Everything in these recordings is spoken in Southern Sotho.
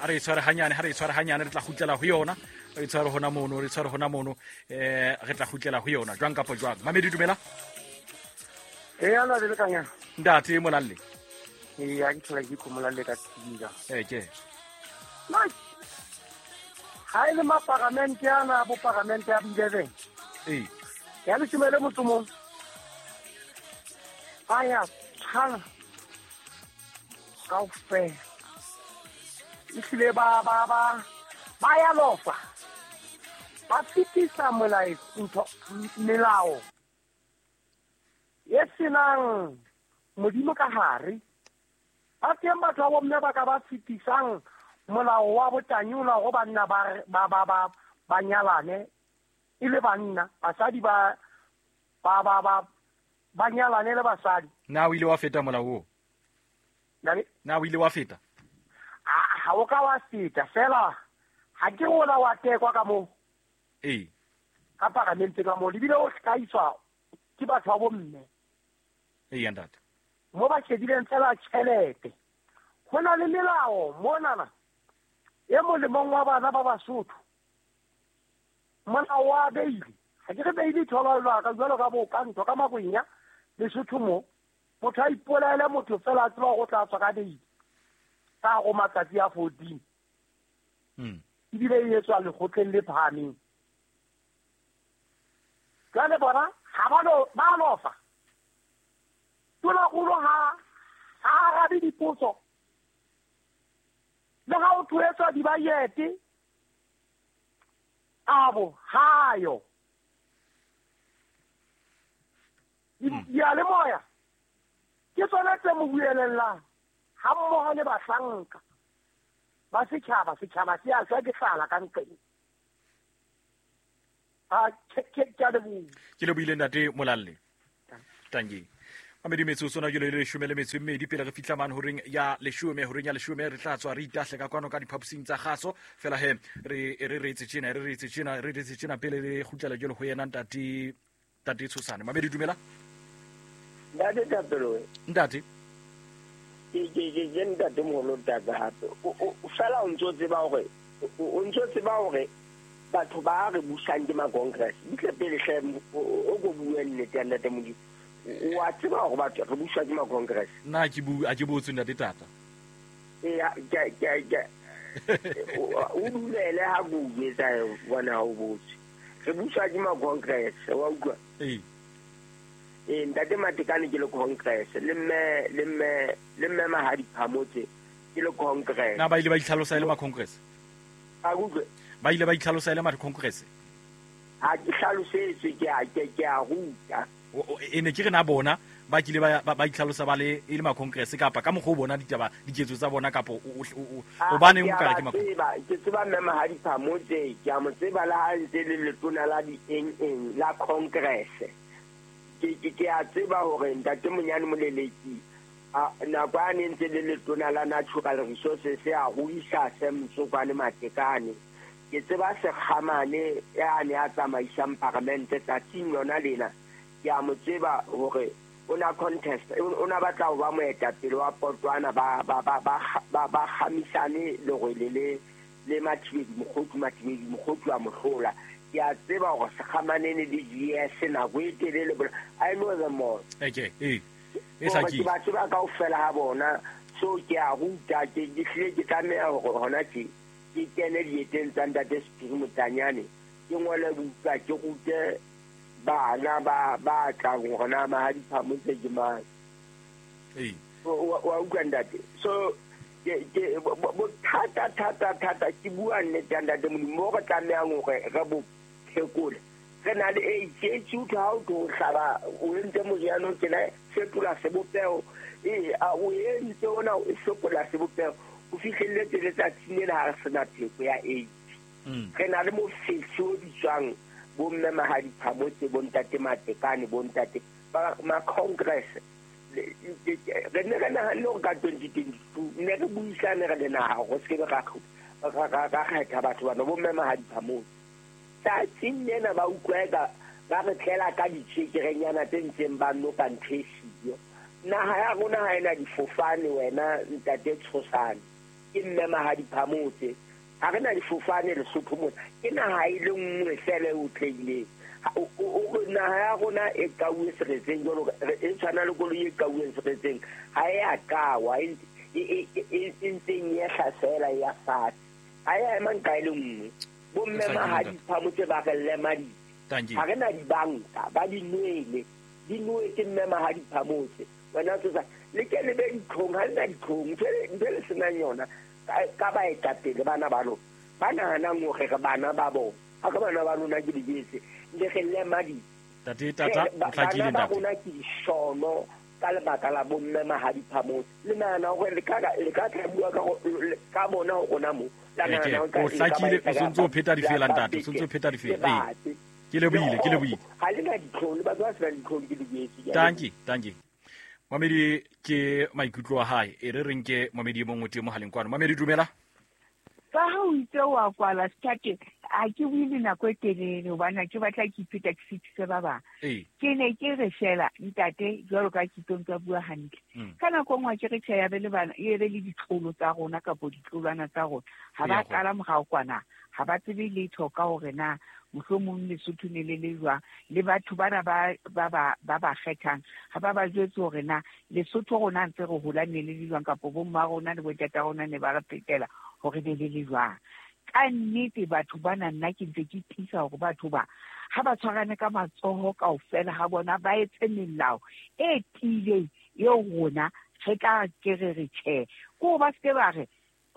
A re tshware hanyane, ha re tshware hanyane, re tla kgutlela ho yona. Re tshware hona mono, re tshware hona mono, re tla kgutlela ho yona jwang kapa jwang. Mamedi, dumela. E ana le kanya. Ntate Molalle. E ya ke thola ke Molalle ka tsika. Ke. Ha ile ma parliament ana bo parliament ya 11. Eh. Ya le shumele motho mo. Aya tshana. Kaofela. Ehlile ba ba ba ba ya lofa. Ba fetisa molao ntho melao. E senang modimo ka hare. Ba teng batho ba bomme ba ka ba fetisang molao wa botanyola go banna ba ba ba ba ba nyalane e le banna, basadi ba ba ba ba ba nyalane le basadi. Na o ile wa feta molao oo? Na o ile wa feta? Ha o ka wa feta fela, ha ke rona wa tekwa ka moo. Ee. Ka paramente ka moo, lebile o hlahiswa ke batho ba bomme. Ee, ntate. Mo ba shedileng fela tjhelete. Ho na le melao monana e molemong wa bana ba Basotho. Molao wa beile. Ha ke re beile tholwa ka jwalo ka bo ka ntho ka makwenya Lesotho mo. Motho a ipolaele motho fela a tseba go tla tswa ka beile. Ka go matsatsi a 14. Ebile e etswa lekgotleng le phahameng. Jwale bona ha ba lo ba lofa. Tona-kgolo ha arabe dipotso. Le ha o thoetswa dibayete, abo hayo. Diyalemoya ke tsona tse mo buelellang ha mmoho le bahlanka ba setjhaba. Setjhaba se a shwa ke tlala ka nqeng. A ke a leboha. Ke lebohile ntate Molalle. Tanki. Mamedi metsotso na jole le leshome le metso e mmedi pele re fihla mane horeng ya leshome, horeng ya leshome re tla tswa re itahle ka kwano ka diphaposing tsa kgaso. Fela he re re re etse tjena, re re etse tjena, re re etse tjena pele re kgutlela jwalo ho yena ntate, ntate Tshosane. Mamedi, dumela. Ntate Thapelo. Ntate. Ke ntate moholo taka hape. O fela o ntso tseba hore, o ntso tseba hore batho ba re busang ke ma Congress. Butle pele hle o go bue nnete ya ntate Modimo. Wa tseba hore batho re buswa ke ma Congress. Nna ke bu a ke botse ntate Tata. E ke ke ke o dumele ha bue tsa bona ha o botse. Re buswa ke ma Congress, wa utlwa? Ee. Ee, ntate Matekane ke le Congress, le mme le mme le mme Mahadi Phamotse ke le Congress. Na ba ile ba itlhalosa e le ma Congress? A utlwe. Ba ile ba itlhalosa e le ma Congress? Ha ke hlalosetswe, ke a ke ke a ruta. E ne ke re na bona ba kile ba ba itlhalosa ba le e le ma Congress kapa ka mokgwa o bona ditaba diketso tsa bona kapa o baneng o kare ke ma Congress. Ke tseba mme Mahadi Phamotse, ke a mo tseba le ha ntse le letona la di eng eng la Congress. Ke a tseba hore ntate Monyane Moleleki nako a ne ntse le letona la Natural Resources a ruisa Sam Tsokwane Matekane. Ke tseba Sekgamane ya ne a tsamaisang paramente tsatsing lona lena. Ke a mo tseba hore o na contest, o na batla ho ba moetapele wa Potwana ba ba ba ba ba ba khamisane lerwele le le Mathibedi Mokgothu, Mathibedi Mokgothu a mohlola. Ke a tseba hore Sekgamane ne le GS nako e telele, I know them all. Okay, eh. E sa ke ba tseba kaofela ha bona. So ke a ruta, ke hlile ke tlameha hore hona tje ke kene dieteng tsa ntate Sephiri Motanyane, ke ngole buka, ke rute bana ba ba tlang hore na Mahadi Phamotse ke mang. Ee. Wa utlwa ntate? So ke ke bothata thata thata ke bua nnete ya ntate Modimo mo re tlamehang hore re bo phekole. Re na le AIDS, AIDS utlwa ha o tlo hlaba o entse moriana o tjena fetola sebopeho. Ee, a o entse ona o fetola sebopeho. O fihlelletse letsatsing lena ha re sena pheko ya AIDS. Re na le mofetshe o bitswang bo mme Mahadi Phamotse, bo ntate Matekane, bo ntate ba ma Congress. Re ne re nahanne hore ka 2022 ne re buisane re le naha hore se ke ra ra kgetha batho bana bo mme Mahadi Phamotse. Tsatsing lena ba utlwa eka ba re tlela ka ditjhekerenyana tse ntseng ba noka ntho e siyo. Naha ya rona ha ena difofane wena ntate Tshosane. Ke mme Mahadi Phamotse. Ha re na difofane Lesotho mona. Ke naha e le nngwe feela e otlehileng. Naha ya rona e kauwe seretseng jwalo e tshwana le koloi e kauweng seretseng. Ha e a kawa, e ntseng e ehla feela e ya fatshe. Ha e a ema nqa e le nngwe. Bomme Mahadi Phamotse ba re lemaditse. Ha re na dibanka, ba di nwele. Di nowe ke mme Mahadi Phamotse. Wena tsosa le ke le be ditlhong, ha le na ditlhong. Ntho e le senang yona ka baetapele bana ba lona. Ba nahanang hore re bana ba bona. Ha ke bana ba lona ke le jetse. Le re lemaditse. Tate tata o hlakile ntate. Bana ba rona ke dishono ka lebaka la bomme Mahadi Phamotse. Le nahana hore le ka tla bua ka bona ho rona mo. La nahana o hlakile, o sontse o pheta difela ntate, o sontse o pheta difela. Ee. Ke lebohile, ke lebohile. Ha le na ditlhong, le batho ba senang ditlhong ke le jetse. Tanki, tanki. Mamedi ke maikutlo a hae. E re re nke mamedi e mongwe teng mohaleng kwano. Mamedi dumela. Ka ha o itse wa kwala sethate, ha ke bue le nako e telele hobane ha ke batla ke ipheta ke fetise ba bang. Ke ne ke re fela ntate jwalo ka ke tlo ntse bua hantle. Ka nako nngwe ke re tjhe ya be le bana, e be le ditlolo tsa rona kapo ditlolwana tsa rona. Ha ba qala morao kwana, ha ba tsebe letho ka hore na mohlomong Lesotho ne le le jwang, le batho bana ba ba kgethang ha ba ba jwetse hore na Lesotho rona ntse re hola ne le le jwang, kapo bo mma rona le bontata rona ne ba re phetela hore ne le le jwang. Ka nnete batho bana nna ke ntse ke tiisa hore batho ba ha ba tshwarane ka matsoho kaofela ha bona ba etse melao e tiileng eo rona re tla ke re re tjhe. Ko ba se ke ba re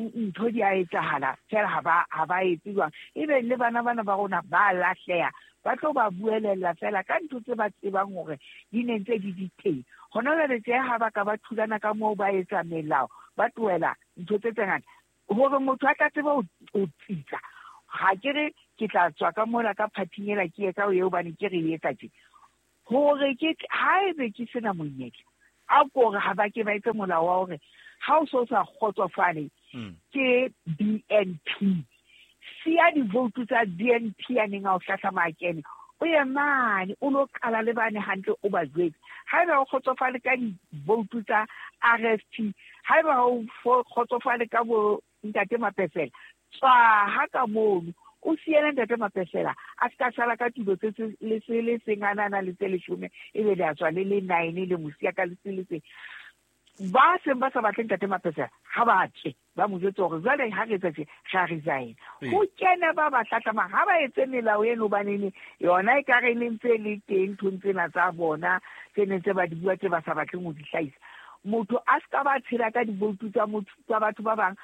ntho di a etsahala fela ha ba etse jwang. Ebe le bana bana ba rona ba lahleha, ba tlo ba buelella fela ka ntho tse ba tsebang hore di ne ntse di di teng. Hona jwale tje ha ba ka ba thulana ka moo ba etsa melao, ba tlohela ntho tse tse ngata hore motho a tla tseba ho tsitsa. Ha ke re ke tla tswa ka mola ka phathing ela ke etsa eo hobane ke re etsa tje. Hore ke haebe ke sena monyetla, a ko re ha ba ke ba etse molao wa hore ha o so sa kgotsofale ke BNP. Siya divoutu tsa BNP a neng a o hlahlama a kene, o ye mane o lo qala le bane hantle o ba jwetse. Haeba o kgotsofale ka divoutu tsa RFP, haeba o kgotsofale ka bo ntate Mapesela, tswa ha ka mono o siele ntate Mapesela a se ka sala ka tulo tse le se le seng a nana le tse leshome, ebe le a tswa le le 9 le mo siya ka le se le seng. Ba seng ba sa batle ntate Mapesela ha ba tswe, ba mo jwetse hore jwale ha re etsa tje, re a resign. Ho kena ba ba hlahlama, ha ba etse melao eno hobane yona e ka re ne ntse le teng nthong tsena tsa bona tse neng tse ba di bua tse ba sa batleng ho di hlahisa. Motho a se ka ba tshela ka divoutu tsa motho tsa batho ba bang,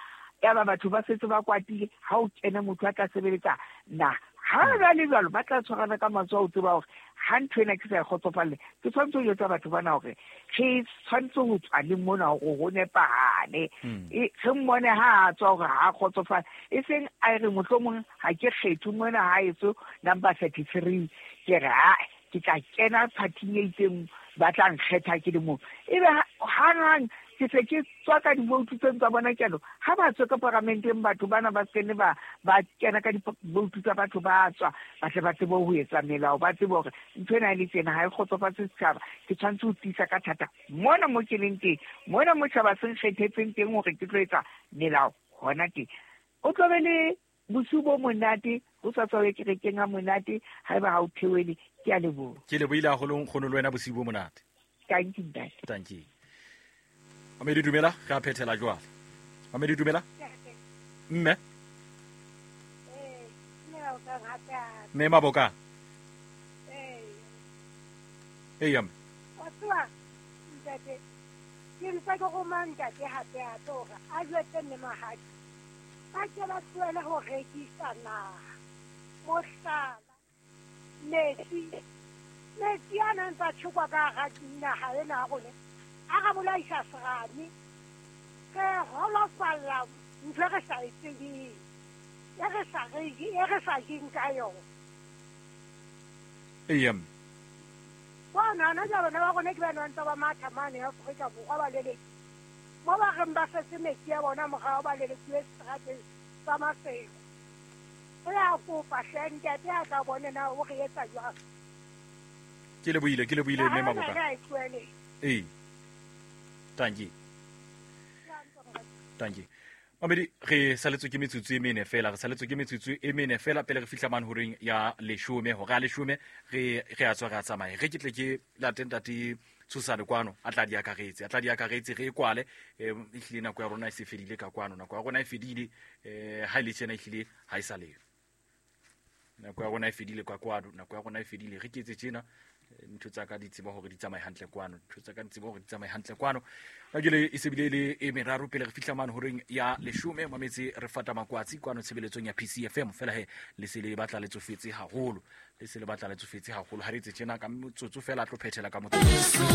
ya ba batho ba setse ba kwatile. Ha o kene motho a tla sebeletsa na ha ba le jwalo, ba tla tshwarana ka matsoho ho tseba hore ha ntho ena ke sa e kgotsofalle, ke tshwanetse ho jwetsa batho bana hore re tshwanetse ho tswa le mona hore ho nepahale. Re mmone ha a tswa hore ha a kgotsofale, e seng a re mohlomong ha ke kgethe mona ha eso number 33, ke re ha ke tla kena phathing e itseng ba tla nkgetha ke le mong. Ebe hanghang ke se ke tswa ka divoutu tseno tsa bona kelo. Ha ba tswe ka paramenteng batho bana ba se ne ba kena ka divoutu tsa batho ba tswa, ba tle ba tsebe ho etsa melao, ba tsebe hore ntho ena e le tjena ha e kgotsofatse setjhaba. Ke tshwanetse ho tiisa ka thata mona mo ke leng teng, mona mo tjhaba se nkgethetseng teng hore ke tlo etsa melao hona teng. O tlo be le bosiu bo monate, ho sa tswa kerekeng ha monate, haeba ha o theohele. Ke a leboha. Ke lebohile haholo nkgono le wena, bosiu bo monate. Thank you, ntate. Thank you. Mamedi dumela, re a phethela jwale. Mamedi dumela. Mme. Mme Maboka. Ee, mme. Wa tseba, ntate, ke ntse ke roma ntate hape hape hore a jwetse mme Mahadi. Ba ke ba tlohele ho rekisa naha. Mohlala, metsi, metsi a nang tsa tjhekwa ka hara naha ena ya rona, a re bolaisa serame. Re holofalla ntho e re sa e tsebeng, e re sa re, e re sa jeng ka yona. Ee, mme. Bona, hona jwale bana ba rona ke ba ntse ba matha mane Afrika Borwa ba lelekile. Mo ba reng ba setse metsi a bona morao ba lelekiwe seterateng sa Maseko. Re a kopa hle ntate a tla bone na o re etsa jwang. Ke lebohile, ke lebohile mme Maboka. Re a e tlohele. Ee. Thank you. Thank you. Mamedi, re saletswe ke metsotso e mene fela, re saletswe ke metsotso e mene fela pele re fihla mane horeng ya leshome. Hora ya leshome re a tswa, re a tsamaye. Re ke tle ke late ntate Tshosane kwano, a tla di akaretse, a tla di akaretse, re e kwale. Ehlile nako ya rona e se fedile ka kwano, nako ya rona e fedile. Ha e le tjena ehlile ha e sa leyo. Nako ya rona e fedile ka kwano, nako ya rona e fedile. Re ke etse tjena, ntho tsa ka di tseba hore di tsamaye hantle kwano, ntho tsa ka di tseba hore di tsamaye hantle kwano. Ka jwale e se bile le e meraro pele re fihla mane horeng ya leshome. Mametse, re fata makwatsi kwano tshebeletsong ya PCFM. Fela he le se le batla le tsofetse haholo, le se le batla le tsofetse haholo. Ha re etse tjena ka motsotso fela, a tlo phethela ka motsotso.